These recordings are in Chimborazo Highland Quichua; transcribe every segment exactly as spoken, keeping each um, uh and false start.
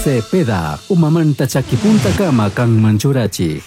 Cepeda, umamanta chakipuntakama kanman churachik.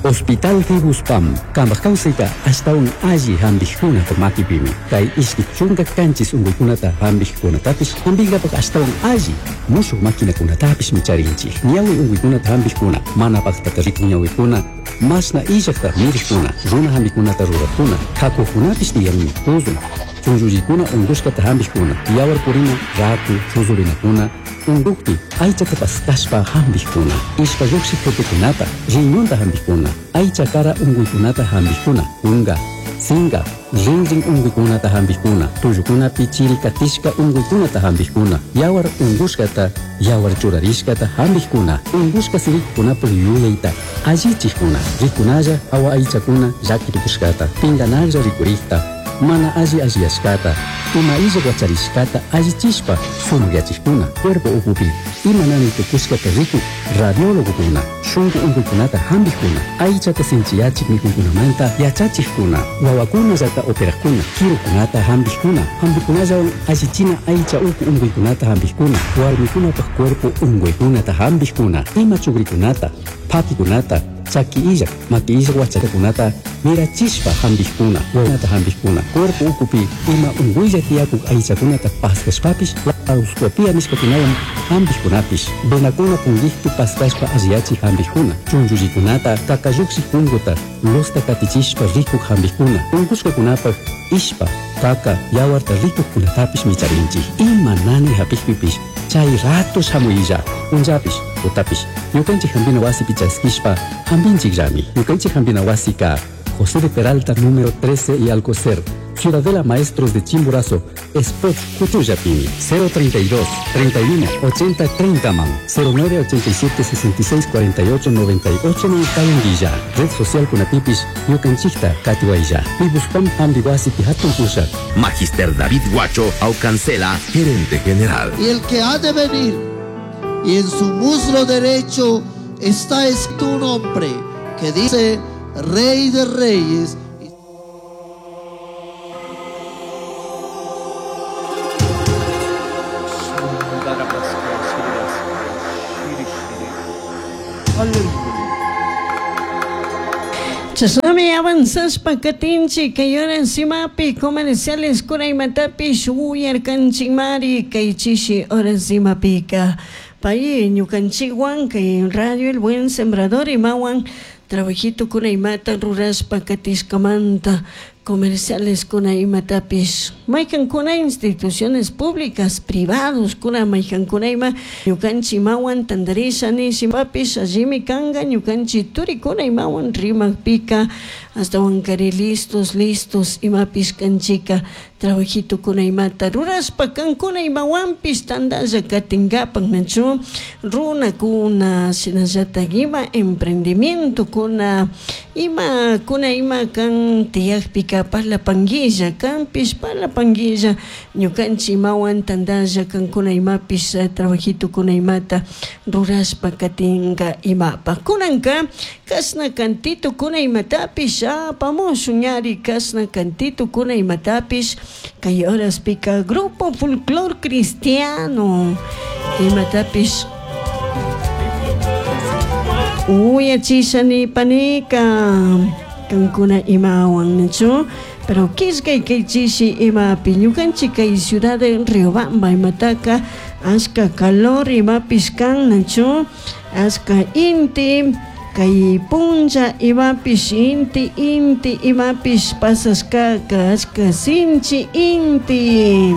Hospital Fibuspam, kambaj kawsayta ashtawan alli hampikkunata makipimi. Kay ishki chunka kanchis unkuykunata hampikkunatapish hampinkapak ashtawan alli mushuk maquinakunatapishmi charinchik. Ñawi unkuykunata hampikkuna, mana paktata rikun ñawikuna, mashna illakta mirikkuna, runa hampikunata rurakkuna, kakukunapish tiyanmi, tuzun, chunllullikuna unkushkata hampikkuna, yawar purina, raku, chuzurinakuna, unkukpi aychata paskashpa hampikkuna, ishpa lluqshik qhipikunata, riñonta hampikkuna, aycha kara unkuykunata hampikkuna, kunka, sinka, rinrin unkuykunata hampikkuna, tullukunapi chiri katishka unkuykunata hampikkuna, yawar unkushkata, yawar churarishkata hampikkuna, unkushka sirikukunapuk yuyayta allichikkuna, rikunalla hawa aychakuna llaki tukushkata, pinkanaklla rikurikta, mana alli alliyashkata, ima illak wacharishkata allichishpa sumakyachikkuna, cuerpo ukupi ima nanay tukushkata rikuk radiólogokuna, shunku unkuykunata hampikkuna, aychata sinchiyachik mikuykunamanta yachachikkuna, wawakunallata operakkuna, kirukunata hampikkuna, hampikunallawan allichina aycha uku unkuykunata hampikkuna, warmikunapak cuerpo unkuykunata hampikkuna, ima chukrikunata, phakikunata, chaki illak, maki illak wachakakunata mirachishpa hampikkuna, wawakunata hampikkuna, cuerpo ukupi ima unkuylla tiyakuk aychakunata paskashpapish laparoscopia nishkakunawan hampikkunapish, venakuna punkikpi paskashpa alliyachik hampikkuna, chunllullikunata, kakalluksik punkuta, luzta katichishpa rikuk hampikkuna, unkushkakunapak ishpa, kaka, yawarta rikukkunatapish micharinchik. Ima nanay hapikpipish chay rato shamuylla, punllapish, tutapish, ñukanchik hampina wasipi chaskishpa hampinchikllami. Ñukanchik hampina wasika José de Peralta número trece y Alcocer, Ciudadela Maestros de Chimborazo, Spot Cuchuyapimi, cero treinta y dos, treinta y uno, ochenta, treinta man, cero nueve ochenta y siete, sesenta y seis, cuarenta y ocho, noventa y ocho, man, Kayunguilla, Red Social Kunatipis, Ñukanchikta, Katiwaya, Pibuspam Hambiwasi Pihatun Pusha. Magister David Guacho Aucancela, gerente general. Y el que ha de venir, y en su muslo derecho está escrito un nombre que dice Rey de Reyes. Chashnami avanzashpa katinchik kay horas imapi comerciales kuraymatapish uyarkanchikmari kay chishi horas imapika. Pay ñukanchikwan kay Radio El Buen Sembrador imawan trabajito kunaymata rurashpa katishkamanta comerciales kuna imatapish maykankuna instituciones públicas privados kuna maykankuna ima ñukanchik imawan tantarisha nishipapish allimi kanka ñukanchik turikuna imawan rimakpika ashtawankari listos listos imapish kanchika trabajito kuna imata rurashpa kankuna imawanpish tantalla katinkapak nachu runakuna shinallatak ima emprendimiento kuna ima kuna ima kan tiyakpika parlapanguilla kanpish parlapanguilla ñukanchik imawan tantalla kankuna imapish trabajito kuna imata rurashpa katinka imapak kunanka kashna kantito kuna imatapish apamushun ñari kashna kantito kuna imatapish kay horaspika Grupo Folclor Cristiano imatapish uyachisha nipanika kankuna imawan nachu pero kishkay kay chishi imapi ñukanchik kay ciudad de Riobamba imataka ashka calor imapish kan nachu ashka inti kay punlla imapish inti inti imapish pasashkaka ashka sinchi inti.